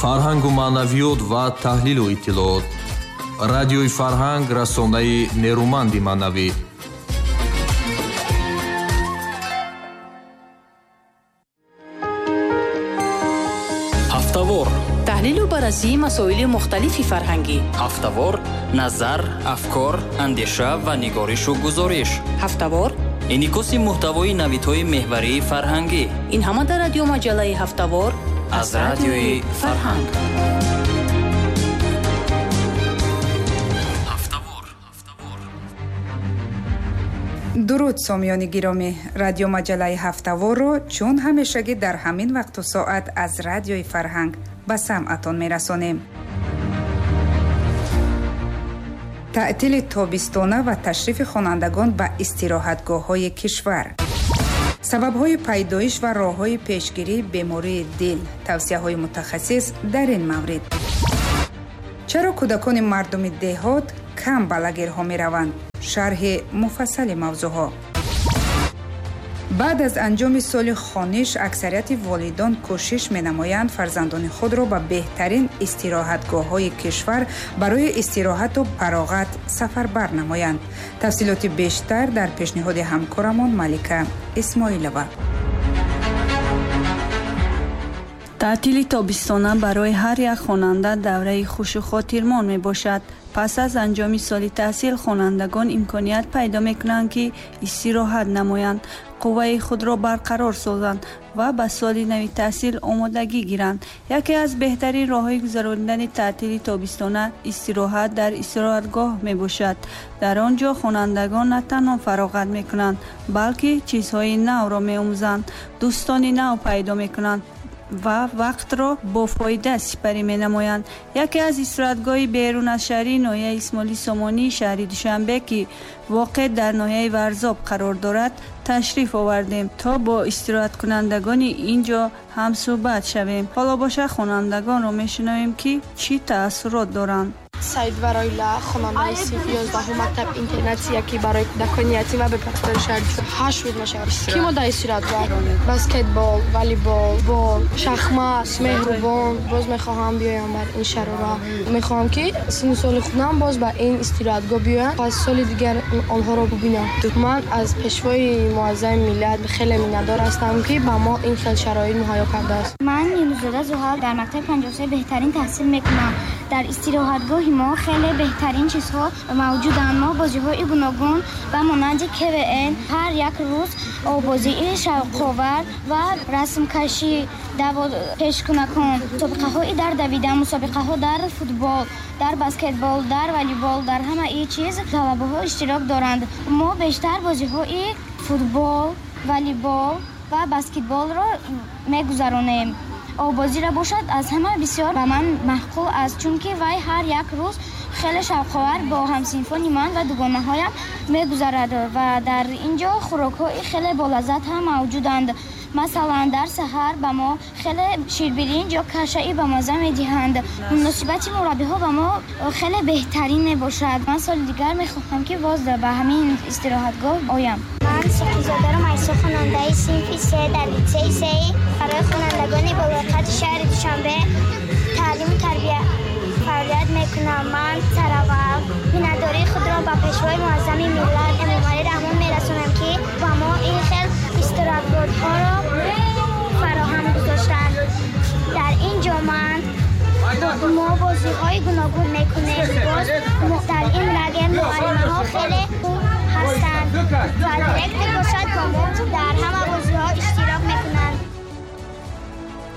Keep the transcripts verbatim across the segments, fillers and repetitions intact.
Фарҳангу маънавиёт ва таҳлилу иттилоот. Радиои Фарҳанг расонаи нерӯманди маънавӣ. Ҳафтавор. Таҳлилу баррасии масоили мухталифи фарҳангӣ. Ҳафтавор, назар, афкор, андеша ва нигоришу гузориш. Ҳафтавор. Инъикоси муҳтавои навидҳои меҳварии фарҳангӣ. Ин ҳама дар радиомаҷаллаи Ҳафтавор аз радиои Фарҳанг. Дуруд, сомиёни гиромӣ. Радиомаҷаллаи Ҳафтаворро чун ҳамешагӣ дар ҳамин вақту соат аз радиои Фарҳанг ба самъатон мерасонем. Таътили тобистона ва ташрифи хонандагон ба истироҳатгоҳҳои кишвар. Сабабҳои пайдоиш ва роҳҳои пешгирии бемории дил. Тавсияҳои мутахассис дар ин маврид. Чаро кӯдакони мардуми деҳот кам ба лагерҳо мераванд? Шарҳи муфассали мавзӯъҳо. Баъд аз анҷоми соли хониш аксарияти волидон кӯшиш менамоянд фарзандони худро ба беҳтарин истироҳатгоҳҳои кишвар барои истироҳату фароғат сафарбар намоянд. Тафсилоти бештар дар пешниҳоди ҳамкорамон Малика Исмоилова. Таътили тобистона барои ҳар як хонанда давраи хушу хотирмон мебошад. Пас аз анҷоми соли таҳсил хонандагон имконият пайдо мекунанд, ки истироҳат намоянд, қувваи худро барқарор созанд ва ба соли нави таҳсил омодагӣ гиранд. Яке аз беҳтарин роҳҳои гузаронидани таътили тобистона истироҳат дар истироҳатгоҳ мебошад. Дар он ҷо хонандагон на танҳо фароғат мекунанд, балки чизҳои навро меомӯзанд, дӯстони нав пайдо мекунанд ва вақтро бо фоида сипарӣ менамоянд. Яке аз истироҳатгоҳи берун аз шаҳрии ноҳияи Исмоили Сомонии шаҳри Душанбе, ки воқеъ дар ноҳияи Варзоб қарор дорад, ташриф овардем то бо истироҳаткунандагони ин ҷо ҳамсӯҳбат шавем. Ҳоло боша хонандагонро мешунавем, ки чӣ таассурот доранд. Саид Вароила, хонандаи синфи ёздаҳум мактаб интернатия, ки барои кӯдакони ятим ва бепарастори шаҳри ҳашт рӯз мешавад. Ки мо дар истироҳатгоҳ баскетбол, волейбол, бол, шахмат, меҳрубон. Боз мехоҳам биёям бар ин шаҳрро. Мехоҳам, ки синну соли худам боз ба ин истироҳатгоҳ биёям, пас соли дигар онҳоро бубинам. Ман аз пешвои муаззами миллат хеле миннатдор ҳастам, ки ба мо ин хел шароит муҳайё кардааст. Ман Юнусзода Зуҳал дар мактаби панҷоҳу се беҳтарин таҳсил мекунам. Дар истироҳатгоҳи мо хеле беҳтарин чизҳо мавҷуданд. Мо бозиҳои гуногун ба монанди КВН, ҳар як рӯз обозии шавқовар ва расмкашӣ, пешкунакон, мусобиқаҳои дар давидан, мусобиқаҳо дар футбол, дар баскетбол, дар волейбол, дар ҳамаи чиз талабаҳо иштирок доранд. Мо бештар бозиҳои футбол, волейбол ва баскетболро мегузаронем. Обозиро бошад аз ҳама бисёр ба ман маъқул аст, чунки вай ҳар як рӯз хеле шавқовар бо ҳамсинфони ман ва дугонаҳоям мегузарад ва дар ин ҷо хӯрокҳои хеле болаззат ҳам мавҷуданд. Масалан, дар саҳар ба мо хеле ширбиринҷ ё кашаи ба мазза медиҳанд. Муносибати мураббиҳо ба мо хеле беҳтарин мебошад. Ман соли дигар мехоҳам, ки боз ба ҳамин истироҳатгоҳ оям. Ман Суқизодаро Майсо, хонандаи синфи се дар литсеи сеи барои хонандагони болоқати шаҳри Душанбе таълиму тарбия фаъолият мекунам. Ман сараввал миннатдории худро ба пешвои муаззами миллат Эмомалӣ Раҳмон мерасонам, ки ба мо ин хел истироҳатгоҳҳоро фароҳам гузоштанд. Дар ин ҷо ман мо бозиҳои гуногун мекунем. Боз дар ин лагер муаллимаҳо хеле хуб ҳастанд ва директор бошад бо мо дар ҳама бозиҳо иштирок мекунанд.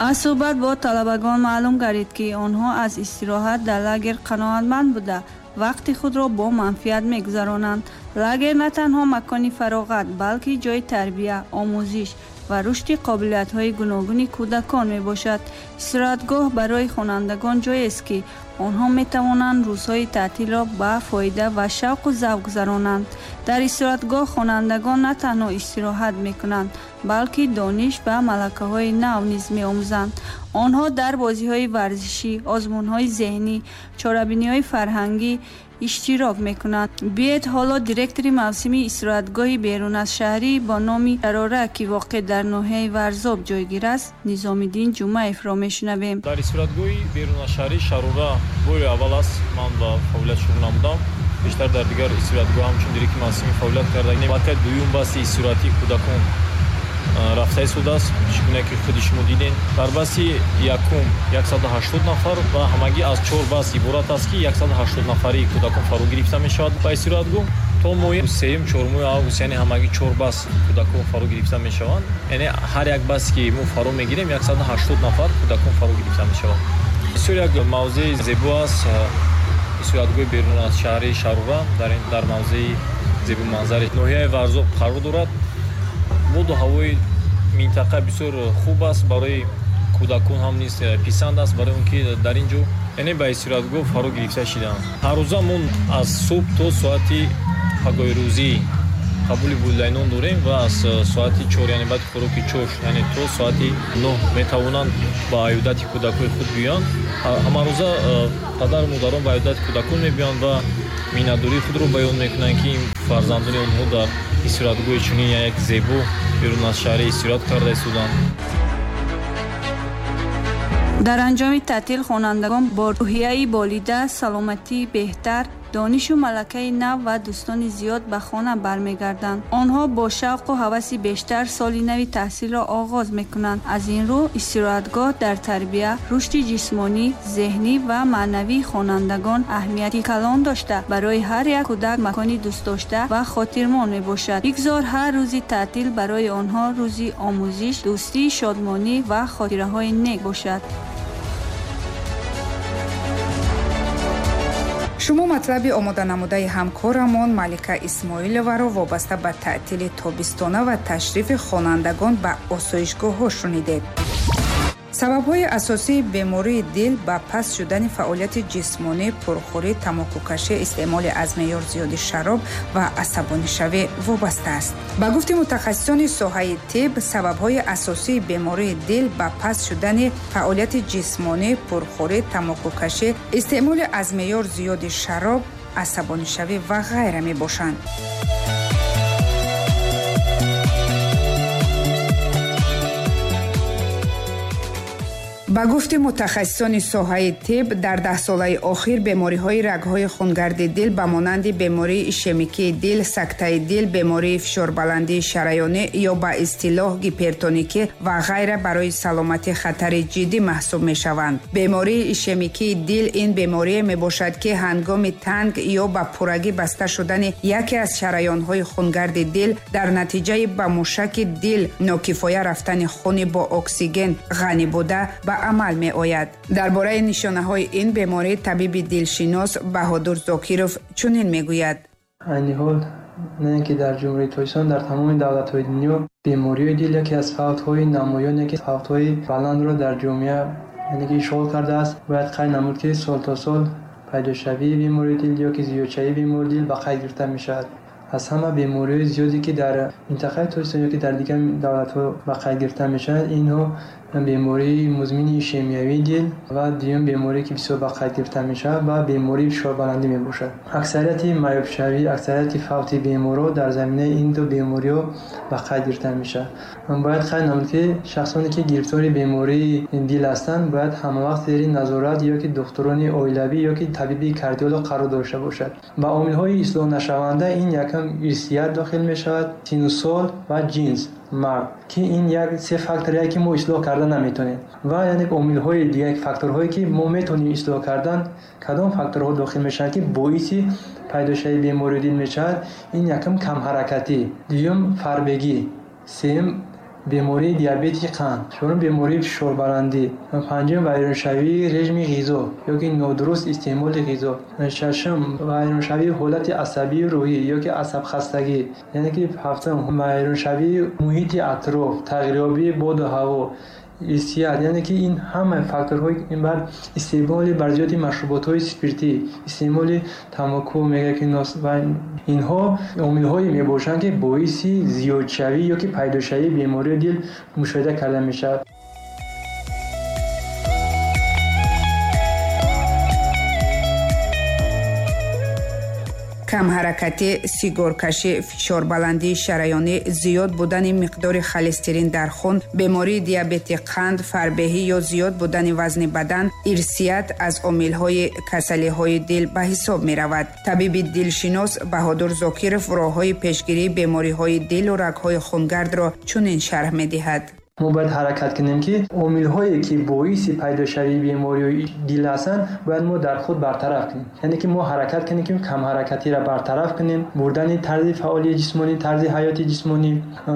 Аз суҳбат бо талабагон маълум гардид, ки онҳо аз истироҳат дар лагер қаноатманд буда, вақти худро бо манфиат мегузаронанд. Лагер на танҳо макони фароғат, балки ҷои тарбия, омӯзиш ва рушди қобилиятҳои гуногуни кӯдакон мебошад. Истироҳатгоҳ барои хонандагон ҷоест, ки онҳо метавонанд рӯзҳои таътилро ба фоида ва шавқу завқ гузаронанд. Дар истироҳатгоҳ хонандагон на танҳо истироҳат мекунанд, балки дониш ва малакаҳои нав низ меомӯзанд. Онҳо дар бозиҳои варзишӣ, озмунҳои зеҳнӣ, чорабиниҳои фарҳангӣ иштирок мекунанд. Биёед ҳоло директори мавсими истироҳатгоҳи берун аз шаҳрӣ бо номи Шарора, ки воқеъ дар ноҳияи Варзоб ҷойгир аст, Низомиддин Ҷумаевро мешунавем. Дар истироҳатгоҳи берун аз шаҳрӣ Шарора бори аввал аст ман ба фаъолият шурӯъ намудам. Бештар дар дигар истироҳатгоҳ ҳамчун директори мавсими фаъолият кардагӣ. Аллакай дуюм басти истироҳатии кӯдакон рафта истодааст, чӣ гуна ки худи шумо дидем. Дар басти якум яксаду ҳаштод нафар ва ҳамагӣ аз чор баст иборат аст, ки яксаду ҳаштод нафари кӯдакон фаро гирифта мешавад ба истироҳатгоҳ. То моҳи сеюм, чорумуи август, яъне ҳамагӣ чор баст кӯдакон фаро гирифта мешаванд. Яъне ҳар як баст ки мо фаро мегирем, яксаду ҳаштод нафар кӯдакон фаро гирифта мешаванд. Бисёр як мавзеи зебо аст истироҳатгоҳи берун аз шаҳри Шарора, дар дар мавзеи зебоманзари ноҳияи Варзоб қарор дорад. Боду ҳавои минтақа бисёр хуб аст, барои кӯдакон ҳам низ писанд аст, барои он ки дар ин ҷо яъне ба истироҳатгоҳ фаро гирифта шидаанд. Ҳаррӯза мо аз субҳ то соати пагоҳи рӯзӣ қабули волидайнон дорем ва аз соати чор, яъне баъди хӯроки чош, яъне то соати нӯҳ метавонанд ба аёдати кӯдакҳои худ биёянд. Ҳамарӯза падару модарон ба аёдати кӯдакон мебиёянд ва миннатдории худро баён мекунанд, ки фарзандони онҳо дар истироҳатгоҳи чунин як зебо берун аз шаҳри истироҳат карда истоданд. Дар анҷоми таътил хонандагон бо рӯҳияи болида, саломатии беҳтар, донишу малакаи нав ва дӯстони зиёд ба хона бармегарданд. Онҳо бо шавқу ҳаваси бештар соли нави таҳсилро оғоз мекунанд. Аз ин рӯ истироҳатгоҳ дар тарбия, рушди ҷисмонӣ, зеҳнӣ ва маънавии хонандагон аҳамияти калон дошта, барои ҳар як кӯдак макони дӯстдошта ва хотирмон мебошад. Бигзор ҳар рӯзи таътил барои онҳо рӯзи омӯзиш, дӯстӣ, шодмонӣ ва хотираҳои нек бошад. Шумо матлаби омоданамудаи ҳамкорамон Малика Исмоиловаро вобаста ба таътили тобистона ва ташрифи хонандагон ба осоишгоҳҳо шунидед. Сабабҳои асосии бемории дил ба паст шудани фаъолияти ҷисмонӣ, пурхӯрӣ, тамокукашӣ, истеъмоли аз меъёр зиёди шароб ва асабонишавӣ вобаста аст. Ба гуфти мутахассисони соҳаи тиб, сабабҳои асосии бемории дил ба паст шудани фаъолияти ҷисмонӣ, пурхӯрӣ, тамокукашӣ, истеъмоли аз меъёр зиёди шароб, асабонишавӣ ва ғайра мебошанд. Ба гуфти мутахассисони соҳаи тиб, дар даҳсолаи охир бемориҳои рагҳои хунгарди дил ба монанди бемории ишемикии дил, сактаи дил, бемории фишорбаландии шараёнӣ ё ба истилоҳ гипертоникӣ ва ғайра барои саломатӣ хатари ҷиддӣ маҳсуб мешаванд. Бемории ишемикии дил ин беморие мебошад, ки ҳангоми танг ё ба пуррагӣ баста шудани яке аз шараёнҳои хунгарди дил дар натиҷаи ба мушаки дил нокифоя рафтани хуни бо оксиген ғанӣ буда ба амал меояд. Дар бораи нишонаҳои ин беморӣ табиби дилшинос Баҳодур Зокиров чунин мегӯяд. Айни ҳол на ин ки дар Ҷумҳурии Тоҷикистон, дар тамоми давлатҳои дунё бемориҳои дил яке аз фавтҳои намоён, яке фавтҳои баландро дар ҷомеа яъне ки ишғол кардааст. Бояд қайд намуд, ки сол то сол пайдошавии бемории дил ё ки зиёдшавии бемории дил ба қайд гирифта мешавад. Аз ҳама бемориҳои зиёде ки дар минтақаи Тоҷикистон ё ки дар дигар давлатҳо ба қайд гирифта мешаванд, инҳо бемории музмини ишемиявии дил ва дуюм беморие ки бисёр ба қайд гирифта мешавад ва бемории фишорбаландӣ мебошад. Аксарияти маёбшавӣ, аксарияти фавти беморҳо дар заминаи ин ду бемориҳо ба қайд гирифта мешавад. Бояд қайд намуд, ки шахсоне ки гирифтори бемории дил ҳастанд, бояд ҳамавақт зери назорат ё ки духтурони оилавӣ ё ки табиби кардиолог қарор дошта бошад. Ба омилҳои ислоҳнашаванда ин якам ирсият дохил мешавад, сину сол ва ҷинс, мард, ки ин як се факторе ки мо ислоҳ карда наметонем. Ва яъне омилҳои дигар, факторҳое ки мо метонем ислоҳ кардан, кадом факторҳо дохил мешаванд ки боиси пайдошавии бемории дил мешавад? Ин якум камҳаракатӣ, дуюм фарбегӣ, сеюм бемории диабети қанд, чорум бемории фишорбаландӣ, панҷум вайроншавии режими ғизо ё ки нодуруст истеъмоли ғизо, шашум вайроншавии ҳолати асабии рӯҳӣ ё ки асабхастагӣ, яъне ки ҳафтум вайроншавии муҳити атроф, тағйирёбии боду ҳаво, ирсият, яъне ки ин ҳама факторҳои ин баъд истеъмоли барзиёди машруботҳои спиртӣ, истеъмоли тамоку мега ки нос ва инҳо омилҳое мебошанд, ки боиси зиёдшавӣ ё ки пайдошавии бемории дил мушоҳида карда мешавад. Камҳаракатӣ, сигоркашӣ, фишорбаландии шараёнӣ, зиёд будани миқдори холестерин дар хун, бемории диабети қанд, фарбеҳӣ ё зиёд будани вазни бадан, ирсият аз омилҳои касалиҳои дил ба ҳисоб меравад. Табиби дилшинос Баҳодур Зокиров роҳҳои пешгирии бемориҳои дилу рагҳои хунгардро чунин шарҳ медиҳад. Мо бояд ҳаракат кунем, ки омилҳое, ки боиси пайдошавии бемориҳои дил ҳастанд, бояд мо дар худ бартараф кунем. Яъне ки мо ҳаракат кунем, ки камҳаракатиро бартараф кунем, бурдани тарзи фаъолияти ҷисмонӣ, тарзи ҳаёти ҷисмонӣ,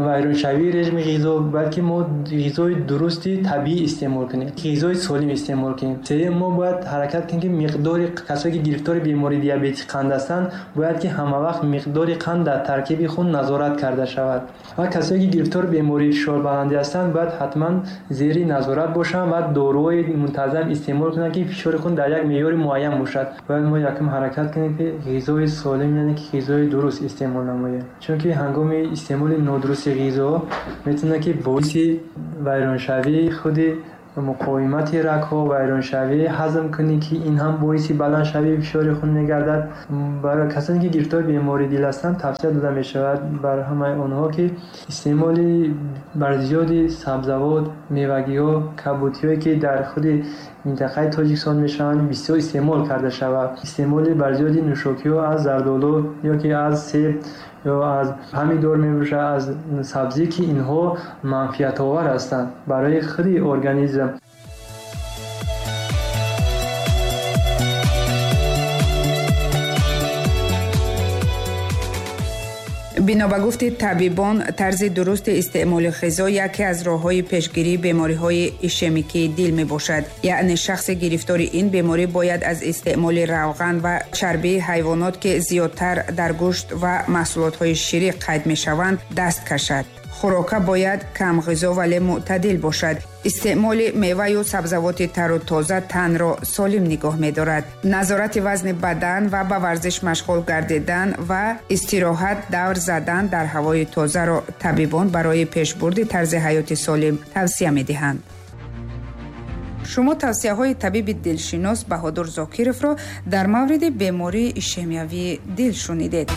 вайроншавии режими ғизо, бояд ки мо ғизои дурусти табиӣ истеъмол кунем, ғизои солим истеъмол кунем. Сеюм, мо бояд ҳаракат кунем, ки миқдори касое, ки гирифтори бемории диабети қанд ҳастанд, бояд ки ҳамавақт миқдори қанд дар таркиби хун назорат карда шавад. Ва касое, ки гирифтори бемории фишорбаландӣ ҳастанд, бояд ҳатман зери назорат бошанд ва доруҳои мунтазам истеъмол кунанд, ки фишори хун дар як меъёри муайян бошад. Бояд мо якум ҳаракат кунем, ки ғизои солим, яъне ки ғизои дуруст истеъмол намоем, чунки ҳангоми истеъмоли нодурусти ғизо метавонад, ки боиси вайроншавии худи муқовимати рагҳо, вайроншавии ҳазмкунӣ, ки ин ҳам боиси баландшавии фишори хун мегардад. Барои касоне, ки гирифтори бемории дил ҳастанд, тавсия дода мешавад бар ҳамаи онҳо, ки истеъмоли барзиёди сабзавот, мевагиҳо, кабудиҳое, ки дар худи минтақаи Тоҷикистон мешаванд, бисёр истеъмол карда шавад. Истеъмоли барзиёди нӯшокиҳо аз зардолу ё ки аз себ ё аз помидор мебошад, аз сабзӣ, ки инҳо манфиатовар ҳастанд барои худи организм. Бино ба гуфти табибон, тарзи дурусти истеъмоли ғизо яке аз роҳҳои пешгирии бемориҳои ишемикии дил мебошад. Яъне шахси гирифтори ин беморӣ бояд аз истеъмоли равған ва чарбии ҳайвонот, ки зиёдтар дар гӯшт ва маҳсулотҳои ширӣ қайд мешаванд, даст кашад. Хӯрока бояд камғизо вале мӯътадил бошад. Истеъмоли меваю сабзавоти тару тоза танро солим нигоҳ медорад. Назорати вазни бадан ва ба варзиш машғул гардидан ва истироҳат давр задан дар ҳавои тозаро табибон барои пешбурди тарзи ҳаёти солим тавсия медиҳанд. Шумо тавсияҳои табиби дилшинос Баҳодур Зокировро дар мавриди бемории ишемиявии дил шунидед.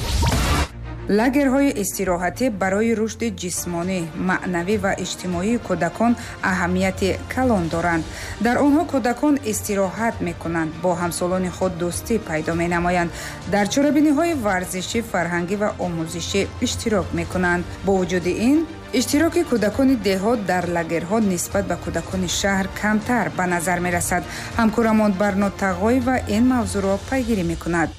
Лагерҳои истироҳатӣ барои рушди ҷисмонӣ, маънавӣ ва иҷтимоии кӯдакон аҳамияти калон доранд. Дар онҳо кӯдакон истироҳат мекунанд, бо ҳамсолони худ дӯстӣ пайдо менамоянд, дар чорабиниҳои варзишӣ, фарҳангӣ ва омӯзишӣ иштирок мекунанд. Бо вуҷуди ин, иштироки кӯдакони деҳот дар лагерҳо нисбат ба кӯдакони шаҳр камтар ба назар мерасад. Ҳамкорамон Барно Тағоева ин мавзӯъро пайгирӣ мекунад.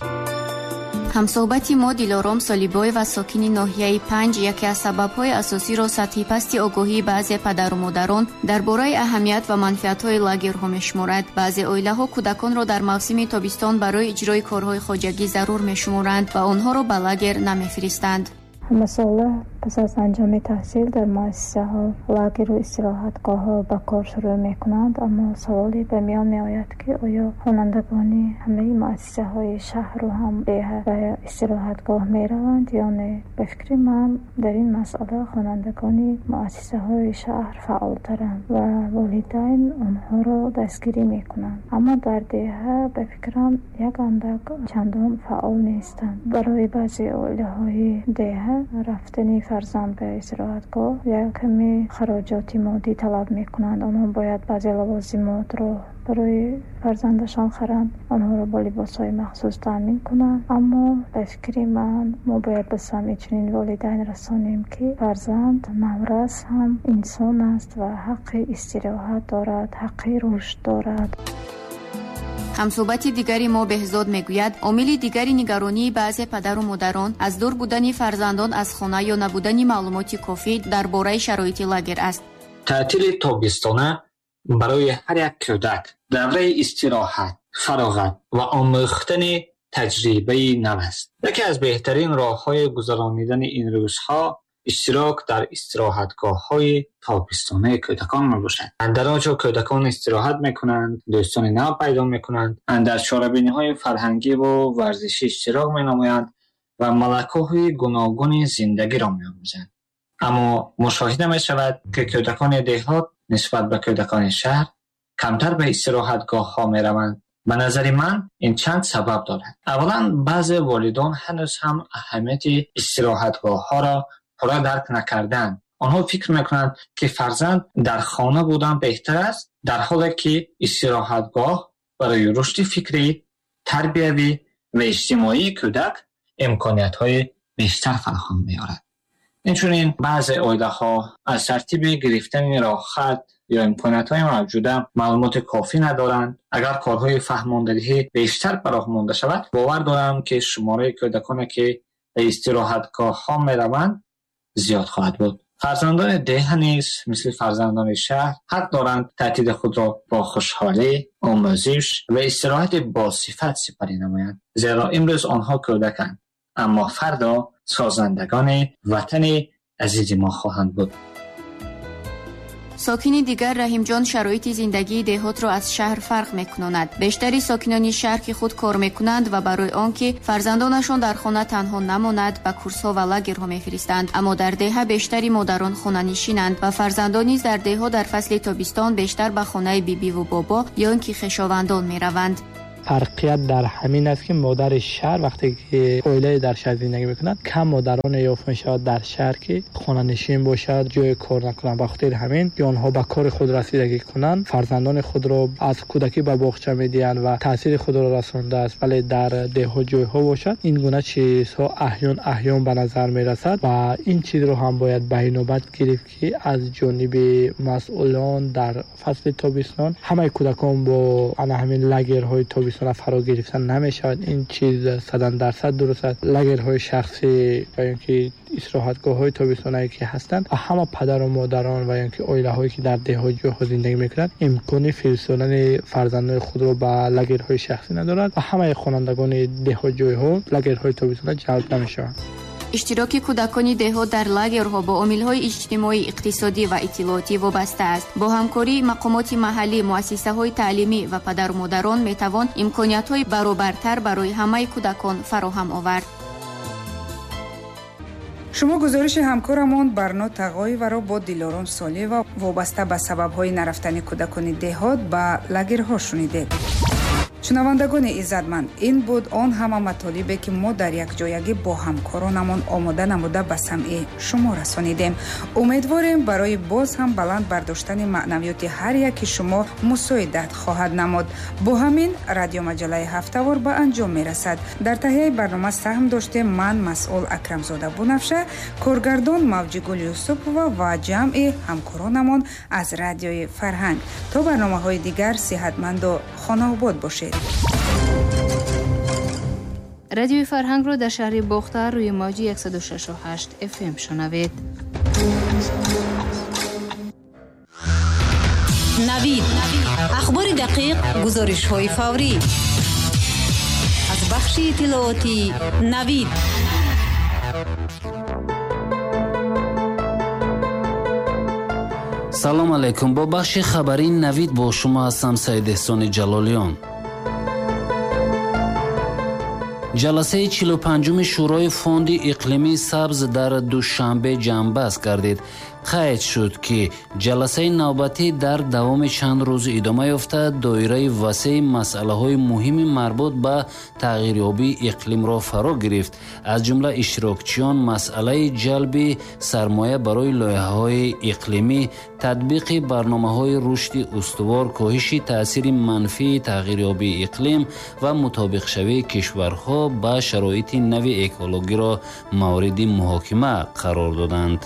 Ҳамсӯҳбати мо Дилором Солибоева, сокини ноҳияи панҷ, яке аз сабабҳои асосиро сатҳи пасти огоҳии баъзе падару модарон дар бораи аҳамият ва манфиатҳои лагерҳо мешуморад. Баъзе оилаҳо кӯдаконро дар мавсими тобистон барои иҷрои корҳои хоҷагӣ зарур мешуморанд ва онҳоро ба лагер намефиристанд. Ҳамасола пас аз анҷоми таҳсил дар муассисаҳо, лагеру истироҳатгоҳҳо ба кор шурӯъ мекунанд, аммо саволе ба миён меояд, ки оё хонандагони ҳамаи муассисаҳои шаҳру ҳам деҳа ба истироҳатгоҳ мераванд ё не? Ба фикри ман, дар ин масъала хонандагони муассисаҳои шаҳр фаъолтаранд ва волидайн онҳоро дастгирӣ мекунанд, аммо дар деҳа ба фикрам як андак чандон фаъол нестанд. Барои баъзе оилаҳои деҳа рафтани фарзанд ба истироҳатгоҳ як каме хароҷоти моддӣ талаб мекунанд. Онҳо бояд баъзе лавозимотро барои фарзандашон харанд, онҳоро бо либосҳои махсус таъмин кунанд. Аммо ба фикри ман, мо бояд ба самъи чунин волидайн расонем, ки фарзанд наврас ҳам инсон аст ва ҳаққи истироҳат дорад, ҳаққи рушд дорад. Ҳамсӯҳбати дигари мо Беҳзод мегӯяд, омили дигари нигаронии баъзе падару модарон аз дур будани фарзандон аз хона ё набудани маълумоти кофӣ дар бораи шароити лагер аст. Таътили тобистона барои ҳар як кӯдак давраи истироҳат, фароғат ва омӯхтани таҷрибаи нав аст. Яке аз беҳтарин роҳҳои гузаронидани ин рӯзҳо иштирок дар истироҳатгоҳҳои тобистонаи кӯдакон мебошад. Дар он ҷо кӯдакон истироҳат мекунанд, дӯстони нав пайдо мекунанд, дар чорабиниҳои фарҳангӣ ва варзишӣ иштирок менамоянд ва малакаҳои гуногуни зиндагиро меомӯзанд. Аммо мушоҳида мешавад, ки кӯдакони деҳот нисбат ба кӯдакони шаҳр камтар ба истироҳатгоҳҳо мераванд Ба назари ман ин чанд сабаб дорад. Аввалан, баъзе волидон ҳанӯз ҳам аҳамияти истироҳатгоҳҳоро пурра дарк накарданд. Онҳо фикр мекунанд, ки фарзанд дар хона будан беҳтар аст, дар ҳоле ки истироҳатгоҳ барои рушди фикрӣ, тарбиявӣ ва иҷтимоии кӯдак имкониятҳои бештар фароҳам меорад. Инчунин баъзе оилаҳо аз тартиби гирифтани роҳхат ё имкониятҳои мавҷуда маълумоти кофӣ надоранд. Агар корҳои фаҳмондадиҳӣ бештар ба роҳ монда шавад, бовар дорам, ки шумораи кӯдаконе, ки ба истироҳатгоҳҳо мераванд, зиёд хоҳад буд. Фарзандони деҳа низ мисли фарзандони шаҳр ҳақ доранд таътили худро бо хушҳолӣ, омӯзиш ва истироҳати босифат сипарӣ намоянд, зеро имрӯз онҳо кӯдаканд, аммо фардо созандагони ватани азизи мо хоҳанд буд. Сокини дигар Раҳимҷон шароити зиндагии деҳотро аз шаҳр фарқ мекунонад. Бештари сокинони шаҳр, ки худ кор мекунанд ва барои он ки фарзандонашон дар хона танҳо намонад, ба курсҳо ва лагерҳо мефиристанд. Аммо дар деҳа бештари модарон хонанишинанд ва фарзандон низ дар деҳо дар фасли тобистон бештар ба хонаи бибиву бобо ё ин ки хешовандон мераванд. Фарқият дар ҳамин аст, ки модари шаҳр вақте ки оилае дар шаҳр зиндагӣ мекунад, кам модароне ёфт мешавад дар шаҳр, ки хонанишин бошад, ҷои кор накунанд. Ба хотири ҳамин ки онҳо ба кори худ расидагӣ кунанд, фарзандони худро аз кӯдакӣ ба боғча медиҳанд ва таъсири худро расондааст. Вале дар деҳот ҷойҳо бошад, ин гуна чизҳо аҳён аҳён ба назар мерасад ва ин чизро ҳам бояд ба инобат гирифт, ки аз ҷониби масъулон дар фасли тобистон ҳамаи кӯдакон бо ана ҳамин лагерҳои тобистон фаро гирифтан намешавад. Ин чиз садан дарсад дуруст аст. Лагерҳои шахсӣ ва ё ки истироҳатгоҳҳои тобистонае ки ҳастанд, ҳама падару модарон ва ё ки оилаҳое ки дар деҳот ҷойҳо зиндагӣ мекунанд, имкони фиристодани фарзандони худро ба лагерҳои шахсӣ надоранд ва ҳамаи хонандагони деҳот ҷойҳо лагерҳои тобистона ҷалб намешаванд. Иштироки кӯдакони деҳот дар лагерҳо бо омилҳои иҷтимоӣ, иқтисодӣ ва иттилоотӣ вобаста аст. Бо ҳамкории мақомоти маҳаллӣ, муассисаҳои таълимӣ ва падару модарон метавон имкониятҳои баробартар барои ҳамаи кӯдакон фароҳам овард. Шумо гузориши ҳамкорамон Барно Тағоеваро бо Дилором Солиева вобаста ба сабабҳои нарафтани кӯдакони деҳот ба лагерҳо шунидед. Шунавандагони иззатманд, ин буд он ҳама матолибе, ки мо дар якҷоягӣ бо ҳамкоронамон омода намуда ба самъи шумо расонидем. Умедворем, барои боз ҳам баланд бардоштани маънавиёти ҳар яки шумо мусоидат хоҳад намуд. Бо ҳамин радиомаҷаллаи ҳафтавор ба анҷом мерасад. Дар таҳияи барнома саҳм доштем ман, масъул Акрамзода Бунафша, коргардон Мавҷигул Юсупова ва ҷамъи ҳамкоронамон аз радиои Фарҳанг. То барномаҳои дигар сиҳатманду хонаобод бошед. Радиои Фарҳангро дар шаҳри Бохтар рӯи мавҷи яксаду шашу ҳашт эф эм шунавед. Навид. Ахбори дақиқ, гузоришҳои фаврӣ. Аз бахши иттилоотии Навид. Салом алейкум. Бо бахши хабарии Навид бо шумо ҳастам Саид Эҳсони Ҷалолиён. Ҷаласаи чилу панҷуми Шӯрои фонди иқлимии сабз дар Душанбе ҷамъбаст гардид. Қайд шуд, ки ҷаласаи навбатӣ дар давоми чанд рӯз идома ёфта, доираи васеи масъалаҳои муҳими марбут ба тағйирёбии иқлимро фаро гирифт. Аз ҷумла иштирокчиён масъалаи ҷалби сармоя барои лоиҳаҳои иқлимӣ, татбиқи барномаҳои рушди устувор, коҳиши таъсири манфии тағйирёбии иқлим ва мутобиқшавии кишварҳо ба шароити нави экологиро мавриди муҳокима қарор доданд.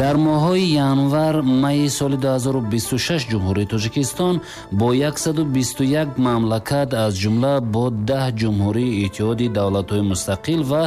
Дар моҳҳои январ майи соли ду ҳазору бисту шаш Ҷумҳурии Тоҷикистон бо яксаду бисту як мамлакат, аз ҷумла бо даҳ ҷумҳурии Иттиҳоди давлатҳои мустақил ва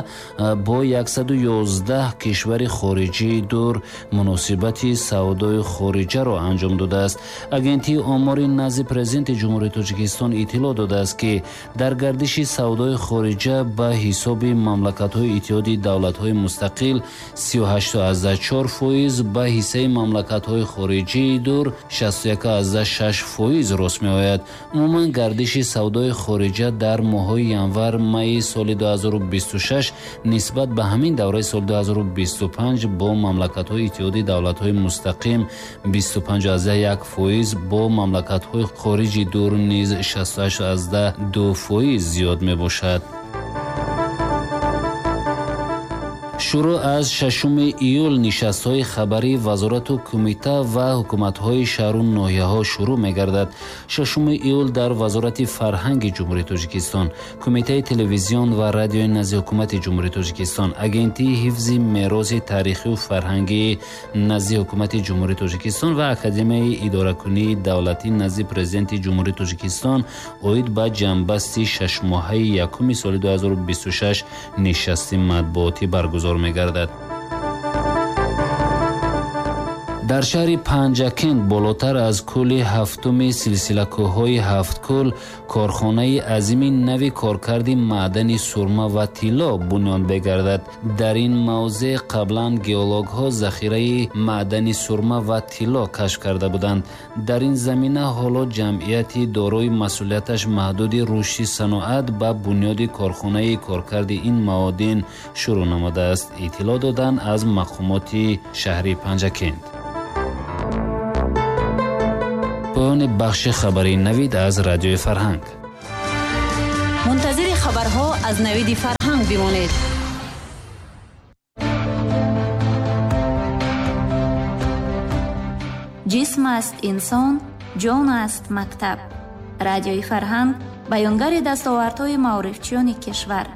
бо яксаду ёздаҳ кишвари хориҷии дур муносибати савдои хориҷаро анҷом додааст. Агентии омори назди президенти Ҷумҳурии Тоҷикистон иттилоъ додааст, ки дар гардиши савдои хориҷа ба ҳисоби мамлакатҳои Иттиҳоди давлатҳои мустақил сию ҳашту аз даҳ чор фоиз фоиз, ба ҳиссаи мамлакатҳои хориҷии дур шасту як аз шаш фоиз рост меояд. Умуман гардиши савдои хориҷа дар моҳҳои январ-майи соли ду ҳазору бисту шаш нисбат ба ҳамин давраи соли ду ҳазору бисту панҷ бо мамлакатҳои Иттиҳоди давлатҳои мустақим бисту панҷ аз як фоиз, бо мамлакатҳои хориҷи дур низ шасту ҳашт аз ду фоиз зиёд мебошад. Шурӯъ аз шашуми июл нишастҳои хабарии вазорату кумита ва ҳукуматҳои шаҳру ноҳияҳо шурӯъ мегардад. Шашуми июл дар Вазорати фарҳанги Ҷумҳурии Тоҷикистон, Кумитаи телевизион ва радиои назди Ҳукумати Ҷумҳурии Тоҷикистон, Агентии ҳифзи мероси таърихию фарҳангии назди Ҳукумати Ҷумҳурии Тоҷикистон ва Академияи идоракунии давлатӣ назди Президенти Ҷумҳурии Тоҷикистон оид ба ҷамъбасти шашмоҳаи якуми соли ду ҳазору бисту шаш нишасти матбуотӣ баргузор мегардад. Дар шаҳри Панҷакент болотар аз кӯли ҳафтуми силсилакӯҳҳои ҳафткӯл корхонаи азими нави коркарди маъдани сурма ва тилло бунёд мегардад. Дар ин мавзеъ қаблан геологҳо захираи маъдани сурма ва тилло кашф карда буданд. Дар ин замина ҳоло ҷамъияти дорои масъулияташ маҳдуди рушди саноат ба бунёди корхонаи коркарди ин маодин шурӯъ намудааст, иттилоъ доданд аз мақомоти шаҳри Панҷакент. Поёни бахши хабарии Навид аз Радиои Фарҳанг. Мунтазири хабарҳо аз Навиди Фарҳанг бимонед. Ҷисм аст инсон, ҷон аст мактаб. Радиои Фарҳанг баёнгари дастовардҳои маорифчиёни кишвар.